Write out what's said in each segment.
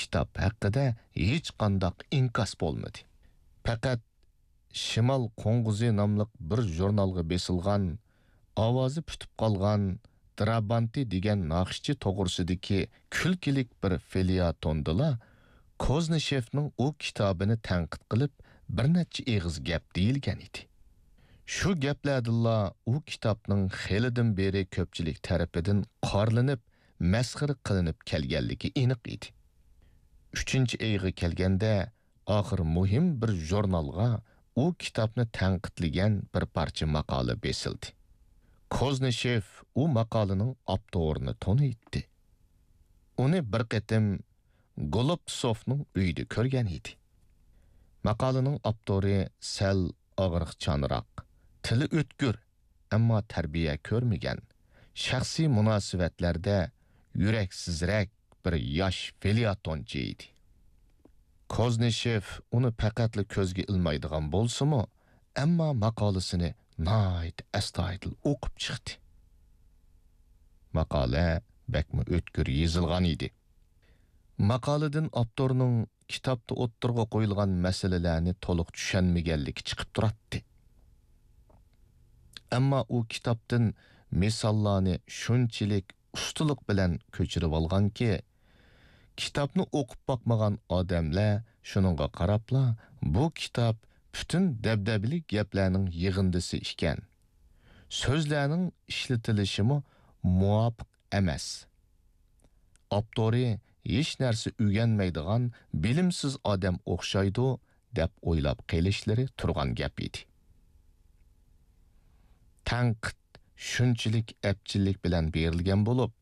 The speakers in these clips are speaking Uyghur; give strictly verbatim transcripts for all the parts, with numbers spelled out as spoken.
كىتاب ھەققىدە ھېچقانداق ئىنكاس بولمىدى. پەقەت شىمال قوڭغۇزى ناملىق بىر ژۇرنالغا بېسىلغان، ئاۋازى پۈتۈپ قالغان دىرابانتى دېگەن ناخشىچى توغرىسىدىكى كۈلكىلىك بىر فېلياتوندىلا كوزنىشېفنىڭ ئۇ كىتابىنى تەنقىد قىلىپ، بىر نەچچە ئېغىز گەپ دېيىلگەن ئىدى. شۇ گەپلەردىنلا ئۇ كىتابنىڭ خېلىدىن بېرى كۆپچىلىك تەرىپىدىن قارىلىنىپ، مەسخىرە قىلىنىپ كەلگەنلىكى ئېنىق ئىدى. ئۈچىنچى ئېغىر كەلگەندە، ئاخىر مۇھىم بىر ژۇرنالغا ئۇ كىتابنى تەنقىدلىگەن بىر پارچە ماقالە بېسىلدى. كوزنىشېف ئۇ ماقالىنىڭ ئاپتورىنى تونۇيتتى. ئۇنى بىر قېتىم گولوبسوفنىڭ ئۆيىدە كۆرگەن ئىدى. ماقالىنىڭ ئاپتورى سەل ئاغرىقچانراق، تىلى ئۆتكۈر، ئەمما تەربىيە كۆرمىگەن، شەخسىي مۇناسىۋەتلەردە يۈرەكسىزرەك بىر ياش فېلياتونچى ئىدى. كوزنىشېف ئۇنى پەقەتلا كۆزگە ئىلمايدىغان بولسىمۇ، ئەمما ماقالىسىنى ناھايىتى ئەستايىدىل ئوقۇپ چىقتى. ماقالە بەكمۇ ئۆتكۈر يېزىلغان ئىدى. ماقالىدىن ئاپتورنىڭ كىتابتا ئوتتۇرىغا قويۇلغان مەسىلىلەرنى تولۇق چۈشەنمىگەنلىكى چىقىپ تۇراتتى. ئەمما ئۇ كىتابتىن مىساللارنى شۇنچىلىك ئۇستىلىق بىلەن كۆچۈرۈۋالغانكى، كىتابنى ئوقۇپ باقمىغان ئادەملەر شۇنىڭغا قاراپلا، بۇ كىتاب پۈتۈن دەبدەبىلىك گەپلەرنىڭ يىغىندىسى ئىكەن، سۆزلەرنىڭ ئىشلىتىلىشىمۇ مۇۋاپىق ئەمەس، ئاپتورى ھېچ نەرسە ئۆگەنمەيدىغان بىلىمسىز ئادەم ئوخشايدۇ، دەپ ئويلاپ قېلىشلىرى تۇرغان گەپ ئىدى. تەنقىد شۇنچىلىك ئەپچىللىك بىلەن بېرىلگەن بولۇپ،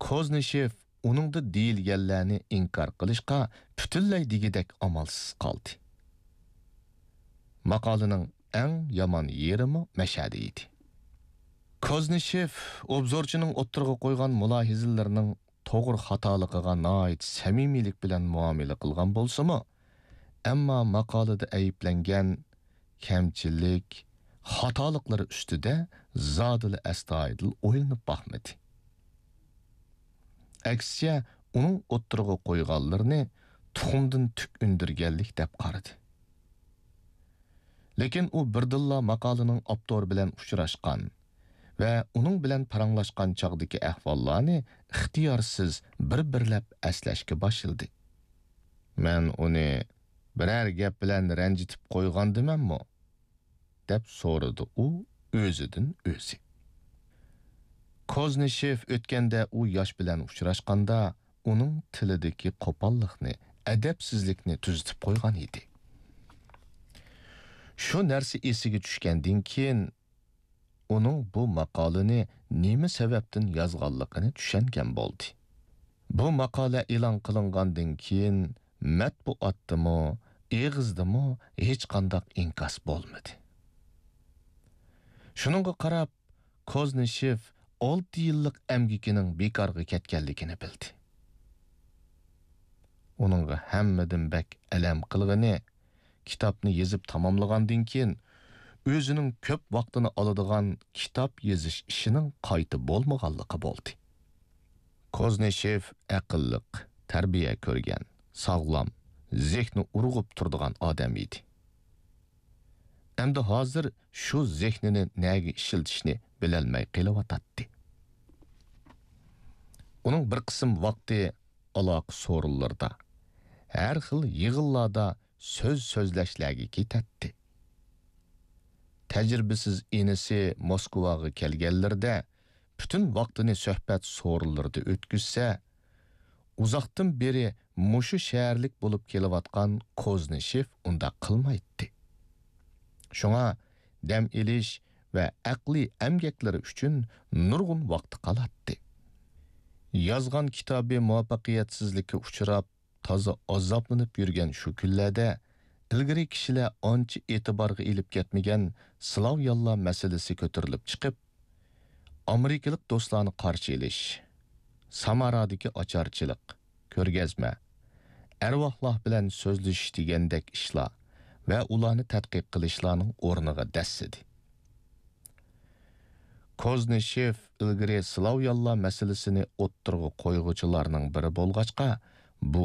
كوزنىشېف ئۇنىڭدا دېيىلگەنلەرنى ئىنكار قىلىشقا پۈتۈنلەي دېگۈدەك ئامالسىز قالدى. ماقالىنىڭ ئەڭ يامان يېرىمۇ مەشەدە ئىدى. كوزنىشېف ئوبزورچىنىڭ ئوتتۇرىغا قويغان مۇلاھىزىلىرىنىڭ توغرا خاتالىقىغا ناھايىتى سەمىمىيلىك بىلەن مۇئامىلە قىلغان بولسىمۇ، ئەمما ماقالىدە ئەيىبلەنگەن كەمچىلىك، خاتالىقلىرى ئۈستىدە زادىلا ئەستايىدىل ئويلىنىپ باقمىدى. ئەكسىچە، ئۇنىڭ ئوتتۇرىغا قويغانلىرىنى تۇخۇمدىن تۈك ئۈندۈرگەنلىك دەپ قارىدى. لېكىن ئۇ بىردىنلا ماقالىنىڭ ئاپتورى بىلەن ئۇچراشقان ۋە ئۇنىڭ بىلەن پاراڭلاشقان چاغدىكى ئەھۋاللارنى ئىختىيارسىز بىر-بىرلەپ ئەسلەشكە باشلىدى. «مەن ئۇنى بىرەر گەپ بىلەن رەنجىتىپ قويغاندىمەنمۇ؟» دەپ سورىدى ئۇ ئۆزىدىن ئۆزى. كوزنىشېف ئۆتكەندە ئۇ ياش بىلەن ئۇچراشقاندا، ئۇنىڭ تىلىدىكى قوپاللىقنى، ئەدەپسىزلىكنى تۈزىتىپ قويغان ئىدى. شۇ نەرسە ئېسىگە چۈشكەندىن كېيىن، ئۇنىڭ بۇ ماقالىنى نېمە سەۋەبتىن يازغانلىقىنى چۈشەنگەن بولدى. بۇ ماقالە ئېلان قىلىنغاندىن كېيىن، مەتبۇئاتتىمۇ، ئېغىزدىمۇ ھېچقانداق ئىنكاس بولمىدى. شۇنىڭغا قاراپ، كوزنىشېف ئالتە يىللىق ئەمگىكىنىڭ بىكارغا كەتكەنلىكىنى بىلدى. ئۇنىڭغا ھەممىدىن بەك ئەلەم قىلغىنى، كىتابنى يېزىپ تاماملىغاندىن كېيىن، ئۆزىنىڭ كۆپ ۋاقتىنى ئالىدىغان كىتاب يېزىش ئىشىنىڭ قايتا بولمىغانلىقى بولدى. كوزنىشېف ئەقىللىق، تەربىيە كۆرگەن، ساغلام، زېھنى ئۇرغۇپ تۇرىدىغان ئادەم ئىدى. ئەمدى ھازىر شۇ زېھنىنى نەگە ئىشلىتىشنى بىلەلمەي قېلىۋاتاتتى. ئۇنىڭ بىر قىسىم ۋاقتى ئالاقە سورۇنلىرىدا، ھەر خىل يىغىنلاردا سۆز سۆزلەشلەرگە كېتەتتى. تەجرىبىسىز ئىنىسى موسكۋاغا كەلگەنلىرىدە، پۈتۈن ۋاقتىنى سۆھبەت سورۇنلىرىدا ئۆتكۈزسە، ئۇزاقتىن بېرى مۇشۇ شەھەرلىك بولۇپ كېلىۋاتقان كوزنىشېف ئۇنداق قىلمايتتى. شۇڭا دەم ئېلىش ۋە ئەقلىي ئەمگەكلىرى ئۈچۈن نۇرغۇن ۋاقتى قالاتتى. يازغان كىتابى مۇۋەپپەقىيەتسىزلىككە ئۇچراپ، تازا ئازابلىنىپ يۈرگەن شۇ كۈنلەردە، ئىلگىرى كىشىلەر ئانچە ئېتىبارغا ئېلىپ كەتمىگەن سلاۋيانلار مەسىلىسى كۆتۈرۈلۈپ چىقىپ، ئامېرىكىلىق دوستلارنى قارشى ئېلىش، سامارادىكى ئاچارچىلىق، كۆرگەزمە، ئەرۋاھلار بىلەن سۆزلىشىش دېگەندەك ئىشلار ۋە ئۇلارنى تەتقىق قىلىشلارنىڭ ئورنىغا دەسسىدى. كوزنىشېف ئىلگىرى سلاۋيانلار مەسىلىسىنى ئوتتۇرىغا قويغۇچىلارنىڭ بىرى بولغاچقا، بۇ